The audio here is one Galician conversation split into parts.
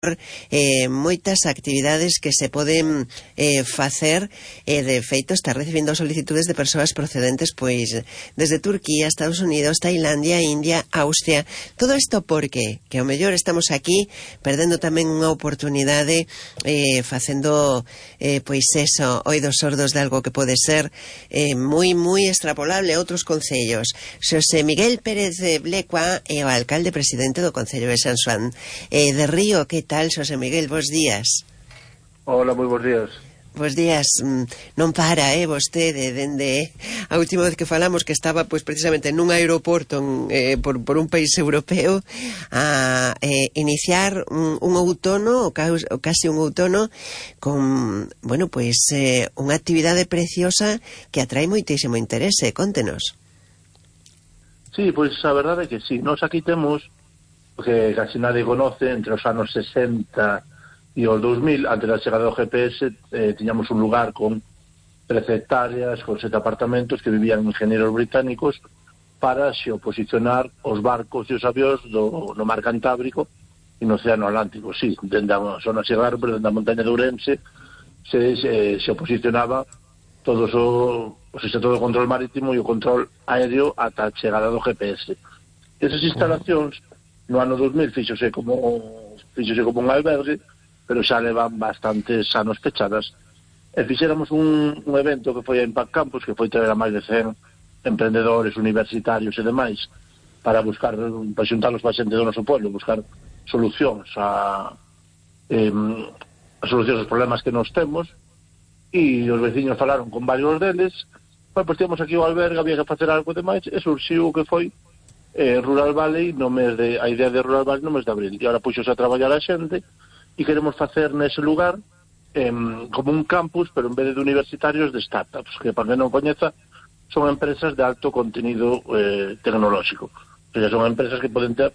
moitas actividades que se poden facer, de feito está recibindo solicitudes de persoas procedentes pois desde Turquía, Estados Unidos, Tailandia, India, Austria. Todo isto porque que ao mellor estamos aquí perdendo tamén unha oportunidade facendo pois eso, oídos sordos de algo que pode ser moi extrapolable a outros concellos. Xosé Miguel Pérez Blecua é o alcalde presidente do Concello de San Xoán de Río. Que tal, Xosé Miguel? Bos días. Hola, moi bons días. Bos días. Non para, vostede, dende a última vez que falamos, que estaba pois precisamente nun aeroporto por un país europeo, a iniciar un outono, ou casi un outono, con, bueno, pois unha actividade preciosa que atrae moitísimo interese. Contenos. Sí, pois a verdade é que sí. Nos aquí temos, que casi nadie conoce, entre os anos 60 e os 2000, antes da chegada do GPS, tiñamos un lugar con 13 hectáreas, con 7 apartamentos que vivían ingenieros británicos para se oposicionar os barcos e os avións no mar Cantábrico e no Océano Atlántico. Sí, dende a zona Sierra, pero dende a montaña de Ourense se oposicionaba todo o control marítimo e o control aéreo ata a chegada do GPS. Esas instalacións no ano 2000 fíxose como un albergue, pero xa levan bastantes anos pechadas. E fixéramos un evento que foi a Impact Campus, que foi traer a máis de 100 emprendedores, universitarios e demais, para xuntarlos para xente do noso pueblo, buscar solucións aos problemas que nos temos, e os veciños falaron con varios deles. Pois temos aquí o albergue, había que facer algo demais, e surxiu o que foi Rural Valley a idea de Rural Valley no mes de abril, e agora puxose a traballar a xente e queremos facer nese lugar como un campus, pero en vez de universitarios, de startups, que para que non coñeza son empresas de alto contenido tecnolóxico, o sea, son empresas que poden ter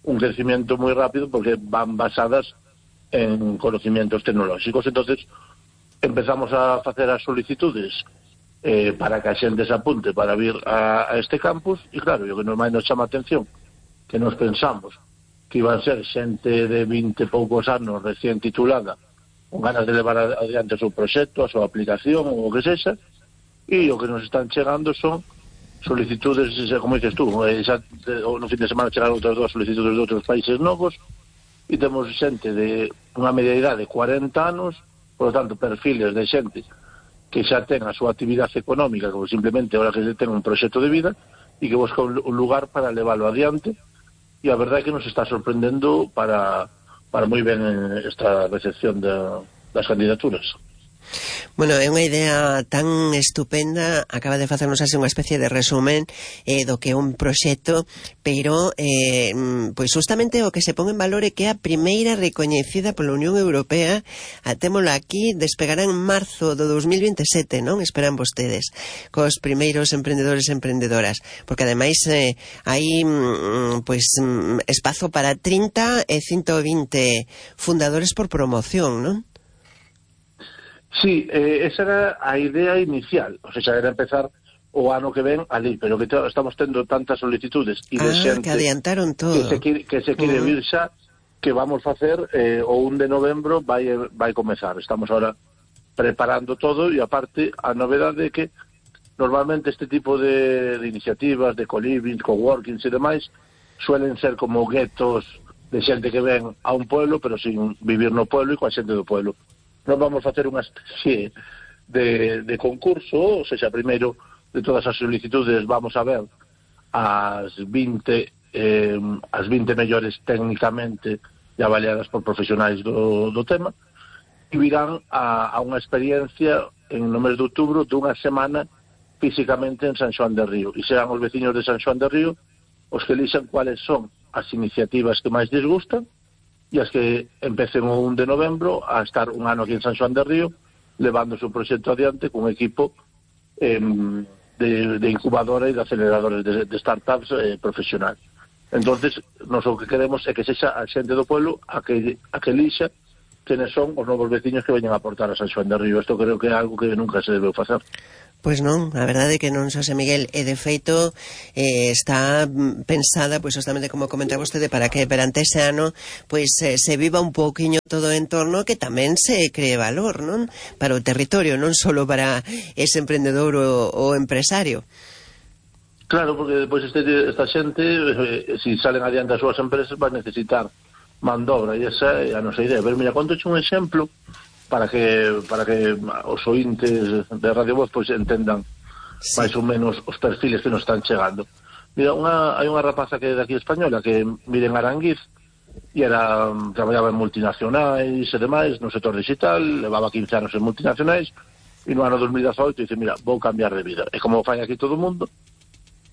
un crecimiento moi rápido porque van basadas en conocimientos tecnolóxicos. Entonces empezamos a facer as solicitudes para que a xente se apunte para vir a este campus, e claro, o que nos chama a atención, que nos pensamos que iban a ser xente de 20 e poucos anos recién titulada, con ganas de levar adiante o seu proxecto, a súa aplicación, ou o que sexa, e o que nos están chegando son solicitudes, como dices tú, no fin de semana chegaron outras 2 solicitudes de outros países novos, e temos xente de unha media idade de 40 anos, por lo tanto, perfiles de xente que xa ten a súa actividade económica, como simplemente ahora que ten un proxecto de vida e que busca un lugar para leválo adiante, e a verdade é que nos está sorprendendo para moi ben esta recepción das candidaturas. Bueno, é unha idea tan estupenda. Acaba de facernos así unha especie de resumen do que é un proxecto, pero pois justamente o que se pon en valor é que a primeira recoñecida pola Unión Europea, témola aquí, despegará en marzo do 2027, non? Esperan vostedes, cos primeiros emprendedores e emprendedoras, porque ademais hai pois espazo para 30 e 120 fundadores por promoción, non? Sí, esa era a idea inicial, o sea, era empezar o ano que ven ali, pero que estamos tendo tantas solicitudes e de xente que adiantaron todo, que se quere vir xa, que vamos facer o 1 de novembro vai comezar. Estamos ahora preparando todo, e aparte a novedade é que normalmente este tipo de iniciativas de co-living, coworkings e demais suelen ser como guetos de xente que ven a un pueblo pero sin vivir no pueblo e coa xente do pueblo. Nos vamos facer unha especie de concurso, ou seja, primeiro de todas as solicitudes vamos a ver as 20 mellores técnicamente e avaliadas por profesionais do tema, e virán a unha experiencia no mes de outubro dunha semana físicamente en San Xoán de Río, e serán os veciños de San Xoán de Río os que elixan cuáles son as iniciativas que máis les gustan, e as que empecen o 1 de novembro a estar un ano aquí en San Xoán de Río levando o seu proxecto adiante cun equipo de incubadora e de aceleradores de startups profesional. Entonces, nos o que queremos é que sexa a xente do pueblo a que elixa quenes son os novos veciños que veñen a aportar a San Xoán de Río. Isto creo que é algo que nunca se debeu facer. Pois non, a verdade é que non, Xosé Miguel, e de feito está pensada, pois justamente como comenta vostede, para que perante ese ano pois se viva un pouquiño todo o entorno, que tamén se cree valor, non? Para o territorio, non só para ese emprendedor ou empresario. Claro, porque depois esta xente, si salen adiante as súas empresas, vai necesitar man de obra, e esa é a nosa idea. Pero mira, conto un exemplo para que os ointes de Radio Voz pois entendan máis ou menos os perfiles que nos están chegando. Mira, hai unha rapaza que é de aquí española que vive en Aranguiz e traballaba en multinacionais e demais no sector digital, levaba 15 anos en multinacionais e no ano 2018 dice, mira, vou cambiar de vida. E como fai aquí todo o mundo,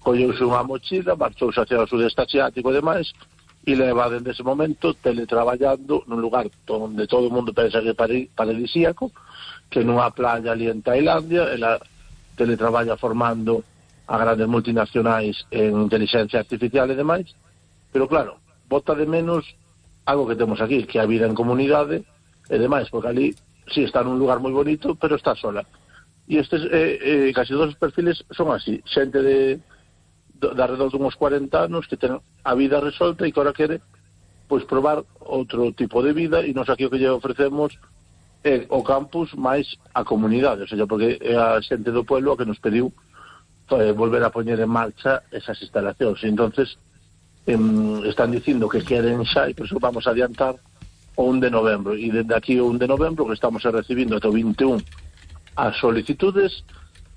colleuse unha mochila, marchouse hacia o sudeste asiático e demais, e leva dende ese momento teletraballando nun lugar onde todo o mundo pensa que é paradisíaco, que nunha playa ali en Tailandia. Ela teletraballa formando a grandes multinacionais en inteligencia artificial e demais, pero claro, bota de menos algo que temos aquí, que é a vida en comunidade e demais, porque ali sí está nun lugar moi bonito, pero está sola. E estes casi todos os perfiles son así, xente de alrededor de uns 40 anos que ten a vida resolta e que ahora quere pois probar outro tipo de vida, e nos aquí o que lle ofrecemos é o campus máis a comunidade, o sea, porque é a xente do pueblo que nos pediu volver a poñer en marcha esas instalacións, e entonces están dicindo que queren xa, e por eso vamos a adiantar o 1 de novembro, e dende aquí o 1 de novembro que estamos recibindo até o 21 as solicitudes,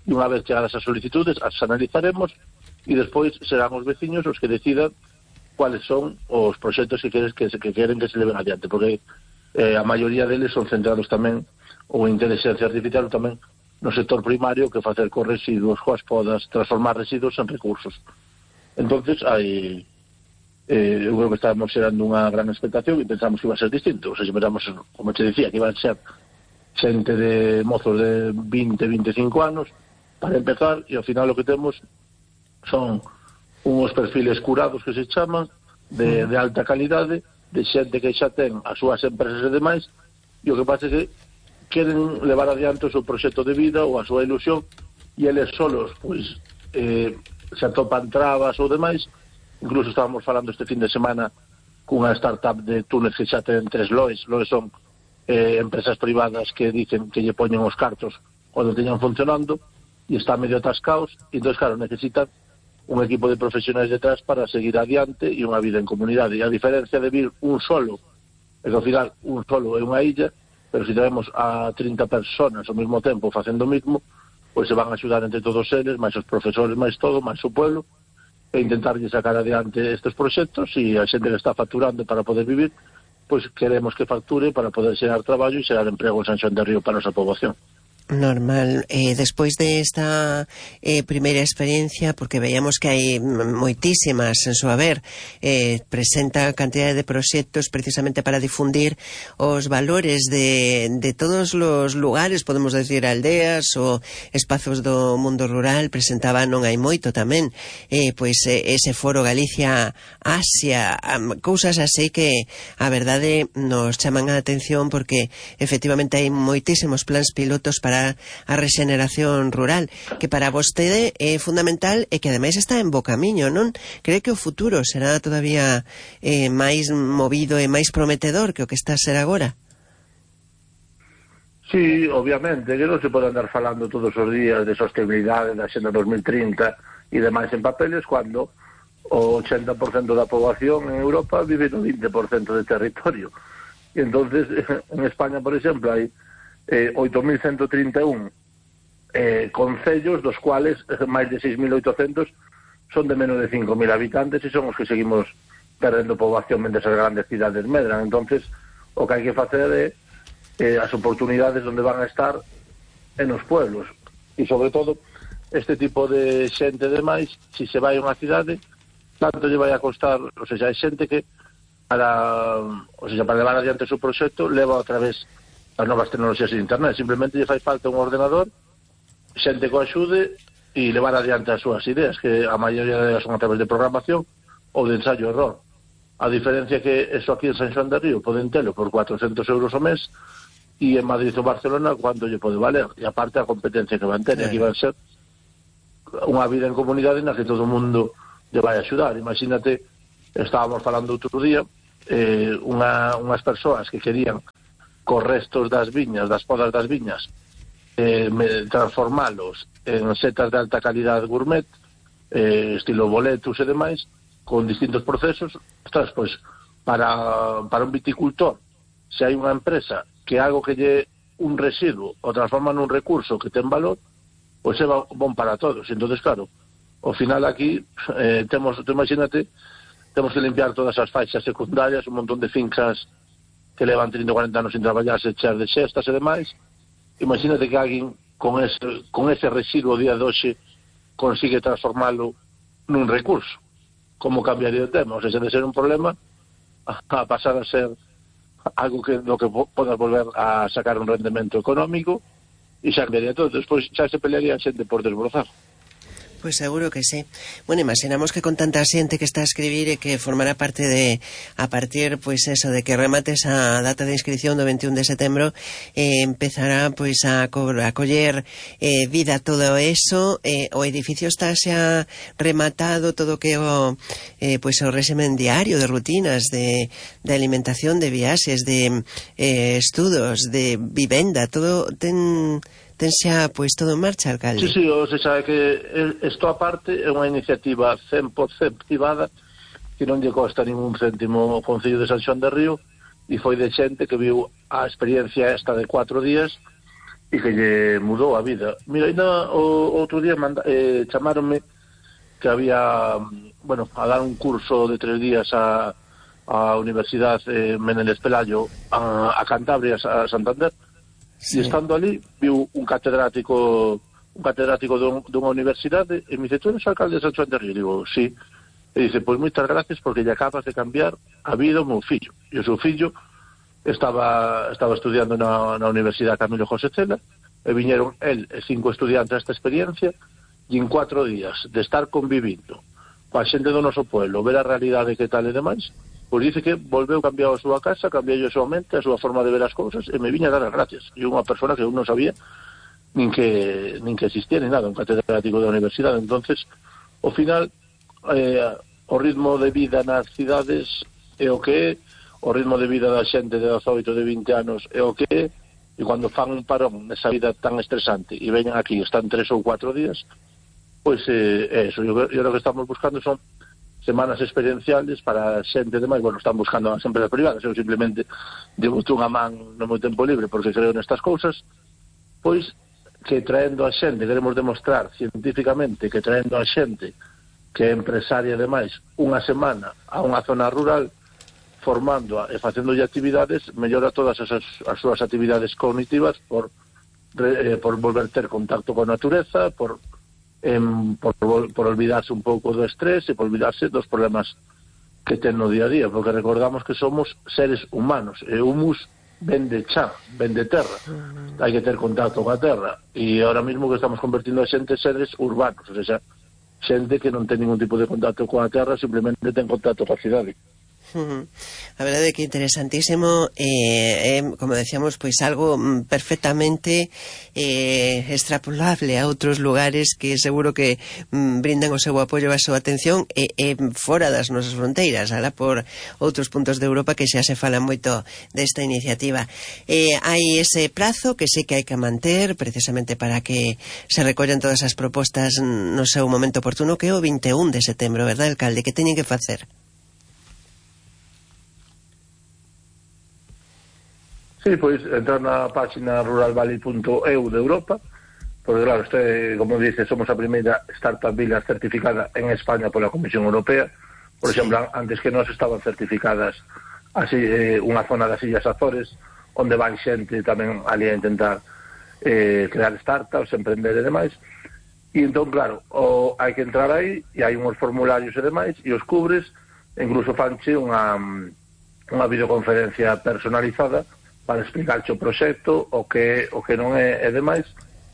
e unha vez chegadas as solicitudes as analizaremos, e despois serán os veciños os que decidan cuáles son os proxectos que queren que se leven adiante, porque a maioría deles son centrados tamén ou en inteligencia artificial ou tamén no sector primario, que facer con residuos, coas podas, transformar residuos en recursos. Entonces hai eu creo que estábamos xerando unha gran expectación e pensamos que iba a ser distinto, ou sea, esperamos, como te decía, que iban a ser xente de mozos de 20-25 anos para empezar, e ao final o que temos son unhos perfiles curados que se chaman de alta calidade, de xente que xa ten as súas empresas e demais, e o que pasa é que queren levar adiante o seu proxecto de vida ou a súa ilusión, e eles solos pois se atopan trabas ou demais. Incluso estábamos falando este fin de semana cunha startup de túneles que xa ten 3 loes son empresas privadas que dicen que lle poñen os cartos cando teñan funcionando, e está medio atascados, e entón, claro, necesitan un equipo de profesionais detrás para seguir adiante e unha vida en comunidade. E a diferencia de vir un solo, é que ao final un solo é unha illa, pero se tenemos a 30 personas ao mesmo tempo facendo o mismo, pois se van a axudar entre todos eles, máis os profesores, máis todo, máis o pueblo, e intentarlle sacar adiante estes proxectos, e a xente que está facturando para poder vivir, pois queremos que facture para poder xerar traballo e xerar emprego en San Xoán de Río para a nosa poboación. Normal. Despois de esta primeira experiencia, porque veíamos que hai moitísimas en su haber, presenta cantidade de proxectos precisamente para difundir os valores de todos os lugares, podemos decir aldeas ou espazos do mundo rural. Presentaba non hai moito tamén pois ese foro Galicia Asia, cousas así que a verdade nos chaman a atención, porque efectivamente hai moitísimos plans pilotos para a rexeneración rural, que para vostede é fundamental e que ademais está en bo camiño, non? Cree que o futuro será todavía máis movido e máis prometedor que o que está a ser agora? Sí, obviamente, que non se pode andar falando todos os días de sostenibilidade da Xenda 2030 e demais en papeles, cando o 80% da poboación en Europa vive no 20% de territorio. E entonces, en España, por exemplo, hai 8.131 concellos, dos cuales máis de 6.800 son de menos de 5.000 habitantes, e son os que seguimos perdendo poboación mentre as grandes cidades medran. Entonces, o que hai que facer é as oportunidades onde van a estar en os pueblos, e sobre todo este tipo de xente demais, se se vai a unha cidade, tanto lle vai a costar, ou seja, hai xente que para levar adiante o seu proxecto leva a través as novas tecnoloxías de internet, simplemente lle fai falta un ordenador, xente que o axude e levar adiante as súas ideas, que a maioría delas son a través de programación ou de ensayo error. A diferencia que eso aquí en San Xoán de Río poden telo por 400 euros ao mes, e en Madrid ou Barcelona cuánto lle pode valer, e aparte a competencia que van ter, aquí van ser unha vida en comunidade na que todo o mundo lle vai axudar. Imagínate, estábamos falando outro día, unhas persoas que querían cos restos das viñas, das podas das viñas, transformalos en setas de alta calidad gourmet, estilo boletus e demais, con distintos procesos. Ostras, pois, para un viticultor, se hai unha empresa que algo que lle un residuo o transforma nun recurso que ten valor, pois é bon para todos. Entonces, claro, ao final aquí imagínate, temos que limpiar todas as faixas secundarias, un montón de fincas que levan 30 ou 40 anos sin traballarse, cheas de xestas e demais. Imagínate que alguén con ese residuo día de hoxe consigue transformalo nun recurso. Como cambiaría o tema? O sea, de ser un problema a pasar a ser algo que do que podas volver a sacar un rendemento económico, e xa cambiaría todo. Despois xa se pelearía a xente por desbrozar. Pois seguro que sí. Bueno, imaginamos que con tanta xente que está a escribir e que formará parte de, a partir, pois eso, de que remates a data de inscripción do 21 de setembro, empezará pois a coller vida todo eso. O edificio está xa rematado, todo que o pois o régimen diario de rutinas, de alimentación, de viaxes, de estudos, de vivenda, todo ten xa pois todo en marcha, alcalde. Sí, o sea, que isto aparte é unha iniciativa 100% privada que non lle costa ningún céntimo o Concello de San Xoán de Río, e foi de xente que viu a experiencia esta de 4 días e que lle mudou a vida. Mira, ainda outro día chamáronme que había, bueno, a dar un curso de 3 días a Universidade Menéndez Pelayo, a Cantabria, a Santander. Sí. E estando ali, viu un catedrático dunha universidade, e me dice, tú eres o alcalde de San Xoán de Río? Digo, sí. E dice, pois moitas gracias porque lle acabas de cambiar a vida ao meu fillo. E o seu fillo estaba estudiando na Universidade Camilo José Cela, e viñeron el e 5 estudiantes a esta experiencia, e en 4 días de estar convivindo coa xente do noso pueblo, ver a realidade que tal e demais, pois dice que volveu cambiar a súa casa, cambiou a súa mente, a súa forma de ver as cousas, e me viña a dar as gracias. E unha persona que eu non sabía nin que existía ni nada, un catedrático da universidade. Entonces, ao final, o ritmo de vida nas cidades é o que é, o ritmo de vida da xente de 18, de 20 anos é o que é, e cando fan un parón nesa vida tan estresante e veñan aquí, están 3 ou 4 días, pois é eso. Eu lo que estamos buscando son semanas experienciales para xente demais. Bueno, están buscando as empresas privadas, eu simplemente devo unha man no meu tempo libre porque creo nestas cousas, pois que traendo a xente, queremos demostrar científicamente que traendo a xente que é empresaria demais unha semana a unha zona rural, formándoa e facéndolle actividades, mellora todas as súas actividades cognitivas por volver ter contacto con a natureza, por olvidarse un pouco do estrés e por olvidarse dos problemas que ten no día a día, porque recordamos que somos seres humanos, e humus ven de chá, ven de terra, hai que ter contacto coa terra, e ahora mismo que estamos convertindo a xente en seres urbanos, ou sea, xente que non ten ningún tipo de contacto coa terra, simplemente ten contacto coa cidade. A verdade é que interesantísimo, como decíamos, pois algo perfectamente extrapolable a outros lugares que seguro que brindan o seu apoio e a súa atención fora das nosas fronteiras, alá por outros puntos de Europa que xa se fala moito desta iniciativa. Hai ese prazo que sei que hai que manter precisamente para que se recollan todas as propostas no seu momento oportuno, que é o 21 de setembro, verdad, alcalde? Que teñen que facer? Sí, pois entrar na página ruralvalley.eu de Europa, porque claro, como dice, somos a primeira startup villa certificada en España pola Comisión Europea. Por exemplo, antes que nós estaban certificadas así unha zona das Illas Azores, onde van xente tamén ali a intentar crear startups, emprender e demais. E entón, claro, hai que entrar aí, e hai uns formularios e demais, e os cubres, incluso fanche unha videoconferencia personalizada para explicarche o proxecto, o que non é demais.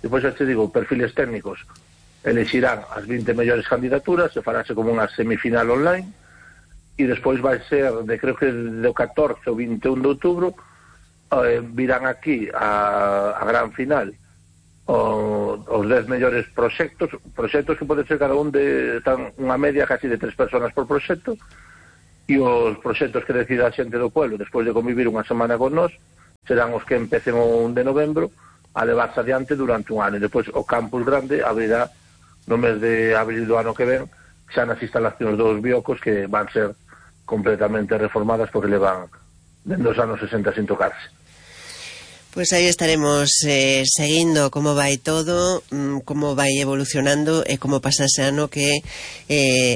Depois xa te digo, perfiles técnicos elexirán as 20 mellores candidaturas, se farase como unha semifinal online, e despois vai ser, creo que do 14 ao 21 de outubro, virán aquí a gran final os 10 mellores proxectos que pode ser cada un de unha media casi de 3 personas por proxecto, e os proxectos que decida a xente do pueblo despois de convivir unha semana con nós serán os que empecen o 1 de novembro a levarse adiante durante un ano, e depois o campus grande abrirá no mes de abril do ano que ven, xa nas instalacións dos biocos, que van ser completamente reformadas porque levan dende os anos 60 sin tocarse. Pois aí estaremos seguindo como vai todo, como vai evolucionando e como pasa ese ano que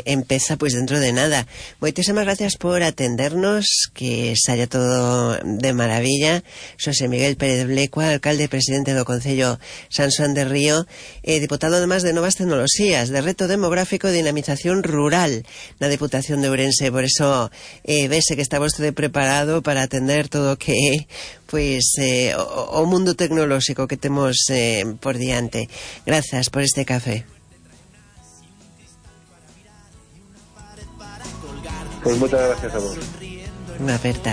empeza pois dentro de nada. Moitísimas gracias por atendernos, que saia todo de maravilla. Xosé Miguel Pérez Blecua, alcalde e presidente do Concello San Xoán de Río, diputado además de Novas Tecnoloxías, de Reto Demográfico e Dinamización Rural na Deputación de Ourense. Por eso vese que está vostede preparado para atender todo o que pois o mundo tecnolóxico que temos por diante. Grazas por este café. Pois moitas gracias a vos. Unha aperta.